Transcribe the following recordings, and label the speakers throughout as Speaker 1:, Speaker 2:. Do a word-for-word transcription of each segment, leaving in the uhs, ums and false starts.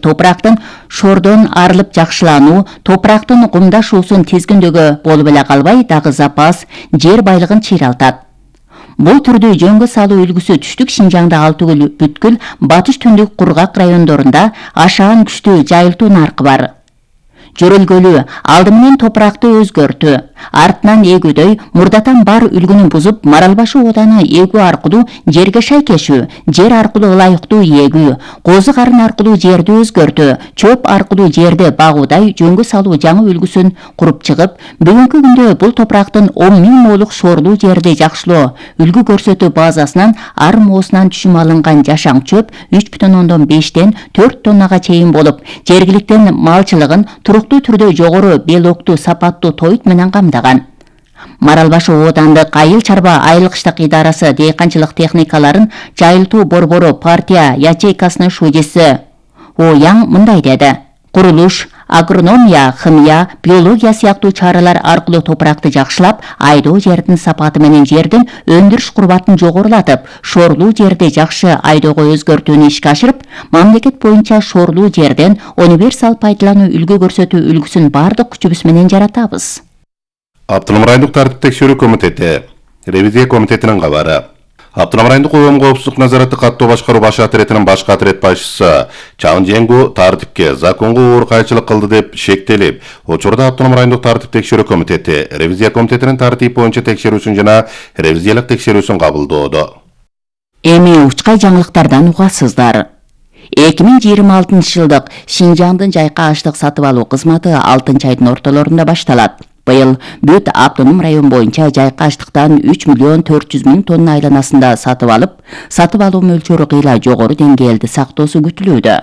Speaker 1: Топурактын шордон арылып жакшылануу, топурактын кумдашуусун тизгиндөгө болуп эле калбай, дагы запас жер байлыгын чыйралтат. Бул түрдүү жөнгө салуу үлгүсү түштүк Шинжаңда ал түгүл бүткүл батыш түндүк кургак райондорунда ашаан күчтүү жайылтуу наркы бар. Жөрөлгөлүү алды менен топуракты өзгөртүү, артынан эгүүдөй мурдатан бар үлгүнү бузуп, Маралбашы ооданы эгүү аркылуу жерге шайкешүү, жер аркылуу ылайыктуу эгүү, козу карын аркылуу жерди өзгөртүү, чөп аркылуу жерди багуудай жөнгө салуу жаңы үлгүсүн куруп чыгып, бүгүнкү күндө бул топурактын он миң молук шоорлуу жерди жакшылоо үлгү көрсөтүү базасынан ар моосунан түшүм алынган жашаң чөп үч бүтүн ондон бештен төрт тоннага чейин болуп, жергиликтин малчылыгын туруктуу түрдө жогору белоктуу сапаттуу тойт менен камдаган. Маралбашы оодандык айыл чарба айылкыштык идарасы дейканчылык техникаларын жайылтуу борбору партия ячейкасынын шужеси Ояң мындай деди: курулуш, агрономия, химия, биология сыяктуу чаралар аркылуу топуракты жакшылап, айдоо жердин сапаты менен жердин өндүрүш курбатын жогорулатып, шоорлуу жерди жакшы айдоого өзгөртүүнү ишке ашырып, мамлекет боюнча шоорлуу жерден универсал пайдалануу үлгү көрсөтүү үлгүсүн бардык күчүбүз менен жаратабыз.
Speaker 2: Автоном райондук тартип текшерүү комитети, ревизия комитетинин кабары. Автоном райондук коом коопсуздук назараты каттоо башкаруу баш атретинин башкы атрет башчысы Чагын Жеңгу тартипке, законго оор кайчылык кылды деп шектелип, учурда Автоном райондук тартип текшерүү комитети ревизия комитетинин тартип боюнча текшерүүсүн жана ревизиялык текшерүүсүн кабылдоодо.
Speaker 1: Эми учкай жаңылыктардан угасыздар. эки миң жыйырма алтынчы жылдык Шинжаңдын жайка аштык сатып алуу кызматы алтынчы айдын ортолорунда башталат. Быйыл бүт автоном район боюнча жайка аштыктан үч миллион төрт жүз миң тонна айланасында сатып алып, сатып алуу мөлчөрү кыйла жогору деңгээлде сактоосу күтүлүүдө.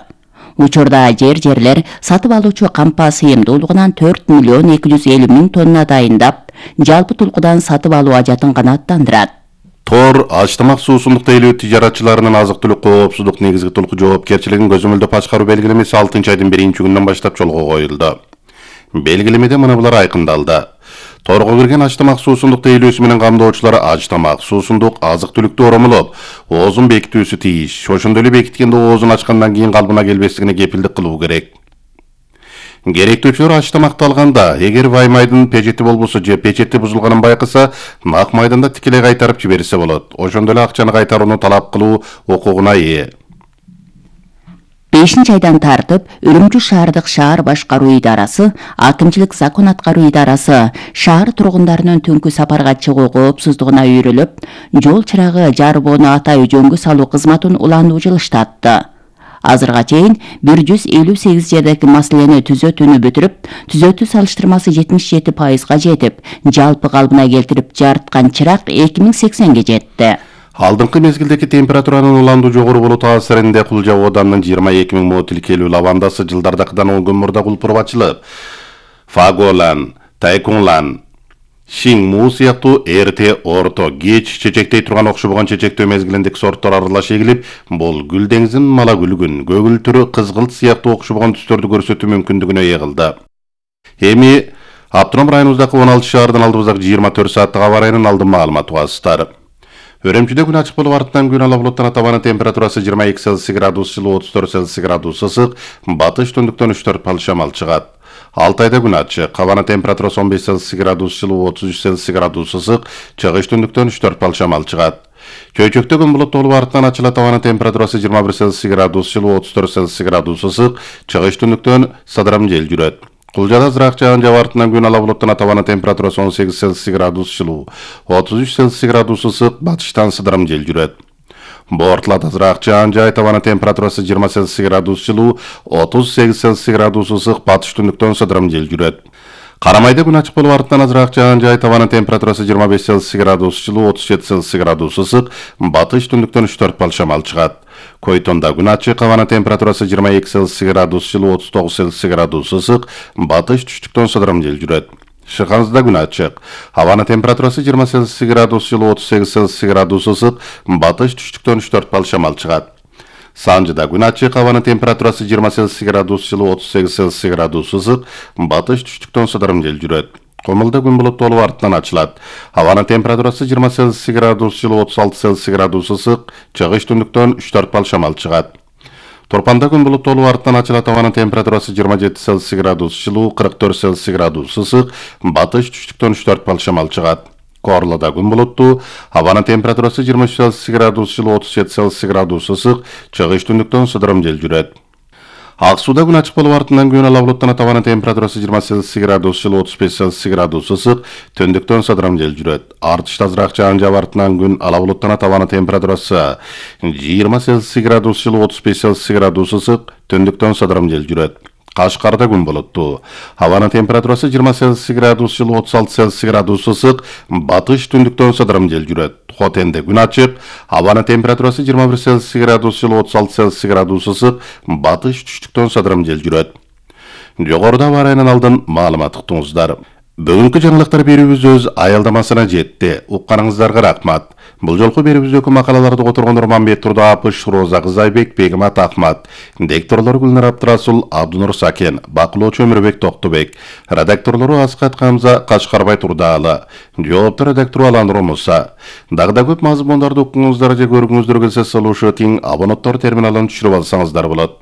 Speaker 1: Учурда жер-жерлер сатып алуучу кампа сыйымдуулугунан төрт миллион эки жүз элүү миң тонна дайындап, жалпы тулкудан сатып алуу ажатын канааттандырат.
Speaker 2: Тор ачтамак суусундук тейлөө тижаратчыларынын азык-түлүк коопсуздук негизги тулку жоопкерчилигин көзөмөлдөп башкаруу белгилемеси алтынчы айдын биринчи күнүнөн баштап жолго коюлду. Белгилемеде мына булар айкындалды. Торго кирген ачтамак суусундук тейлөөсү менен камдоочулар ачтамак суусундук азык-түлүктү оромолоп, оозун бекитүүсү тийиш. Ошондой эле бекиткенде оозун ачкандан кийин калбына келбестигине кепилдик кылуу керек. Керектүүчүлөр ачтамакты алганда, эгер ваймайдын печети болбосо же печети бузулганын байкаса, нак майданда тикелей кайтарып жиберсе болот. Ошондой эле акчаны кайтарууну талап кылуу укугуна ээ.
Speaker 1: бешинчи айдан тартып Үрүмчү шаардык шаар башкаруу идарасы, акимчилик закон аткаруу идарасы шаар тургундарынын түнкү сапарга чыгуу коопсуздугуна үйрөлүп, жол чырагы жарбоону атайы жөнгө салуу кызматын улануу жылыштатты. Азырга чейин бир жүз элүү сегиз жердеги маселени түзөтүүнү бүтүрүп, түзөтүү салыштырмасы жетимиш жети пайызга жетип, жалпы калыбына келтирип жарыткан чырак эки миң сексенге жетти.
Speaker 2: Алдыңкы мезгилдеги температуранын уландуу жогору болуу таасиринде Кулжа ооданынын жыйырма эки миң мо тилкелүү лавандасы жылдардакыдан он күн мурда кулпуруп ачылып, Фаголан, Тайкунлан, Шинму сыяктуу эрте, орто, кеч чечектей турган окшобогон чечектөө мезгилиндеги сорттор аралаш эгилип, бул гүл деңизин малагүлгүн, көгүл түрү кызгылт сыяктуу окшобогон түстөрдү көрсөтүү мүмкүндүгүнө ээ кылды. Эми Автоном районубуздагы он алты шаардын алдыбыздагы жыйырма төрт сааттык аба ырайынын алдын маалыматы угасыздар. Өрөмчүдө күн ачык болуп артынан күн ала булуттан табанын температурасы жыйырма эки Цельсий градус жылуу, отуз төрт Цельсий градус ысык, батыш түндүктөн үч төрт балл шамал чыгат. Алтайда күн ачык, кабанын температурасы он беш Цельсий градус жылуу, отуз үч Цельсий градус ысык, чыгыш түндүктөн үч төрт балл шамал чыгат. Чөйчөктө күн булуттуу болуп артынан ачылат, табанын температурасы жыйырма бир Цельсий градус жылуу, отуз төрт Цельсий градус ысык, чыгыш түндүктөн садырам жел жүрөт. Кулжада азыраак жаан жаап артынан күн ала булуттан табанын температурасы он сегиз Цельсий градус жылуу, отуз үч Цельсий градус ысык, батыштан сыдырым жел жүрөт. Бортулат азыраак жаан жаай, табанын температурасы жыйырма Цельсий градус жылуу, отуз сегиз Цельсий градус ысык, батыш түндүктөн сыдырым жел жүрөт. Карамайда күн ачык болуп артынан азыраак жаан жаай, табанын температурасы жыйырма беш Цельсий градус жылуу, отуз жети Цельсий градус ысык, батыш түндүктөн үч төрт балл шамал чыгат. Койтонда күн ачык, абанын температурасы жыйырма эки Цельсий градус жылуу, отуз тогуз Цельсий градус ысык, батыш түштүктөн сыдырым жел жүрөт. Шыханызда күн ачык, абанын температурасы жыйырма Цельсий градус жылуу, отуз сегиз Цельсий градус ысык, батыш түштүктөн үч төрт балл шамал чыгат. Санжыда күн ачык, абанын температурасы жыйырма Цельсий градус жылуу, отуз сегиз Цельсий градус ысык, батыш түштүктөн сыдырым жел жүрөт. Комулда күн булуттуу болуп артынан ачылат. Абанын температурасы жыйырма Цельсий градус жылуу, отуз алты Цельсий градус ысык, чыгыш түндүктөн үч төрт балл шамал чыгат. Торпанда күн булуттуу артынан ачылат, абанын температурасы жыйырма жети Цельсий градус жылуу, кырк төрт Цельсий градус ысык, батыш түштүктөн үч төрт балл шамал чыгат. Корлоодо күн булуттуу, абанын температурасы жыйырма үч Цельсий градус жылуу, отуз жети Цельсий градус ысык, чыгыш түндүктөн сыдырым жел жүрөт. Ак сууда күн ачык болуп артынан күн ала булуттанат, абанын температурасы жыйырма Цельсий градус жылуу, отуз беш Цельсий градус ысык, түндүктөн сыдырым жел жүрөт. Артыш тазыраак жаан жаап артынан күн ала булуттанат, абанын температурасы жыйырма Цельсий градус жылуу, отуз беш Цельсий градус ысык, түндүктөн сыдырым жел жүрөт. Кашкарда күн булуттуу. Абанын температурасы жыйырма Цельсий градус жылуу, отуз алты Цельсий градус ысык, батыш түндүктөн сыдырым жел жүрөт. Хотенде күн ачык, абанын температурасы жыйырма бир Цельсий градус жылуу, отуз алты Цельсий градус ысык, батыш түштүктөн сыдырым жел жүрөт. Жогоруда бар айынан алдын маалымат уктуңуздар. Бүгүнкү жаңылыктар берүүбүз өз аялдамасына жетти. Укканыңыздарга рахмат. Бул жолку берүүбүздөгү макалаларды которгон Урманбет Турдаапыш, Роза Кызайбек, Бегимат Ахмат, дикторлору Гүлнар Абдырасул, Абдунур Сакен, бакылоочу Өмүрбек Токтобек, редакторлору Аскат Камза, Качкарбай Турдаалы, жооптор редактору Аланур Муса. Дагы да көп мазмундарды укуңуздар же көргүңүздөр келсе, слушать, абоненттор терминалын түшүрүп алсаңыздар болот.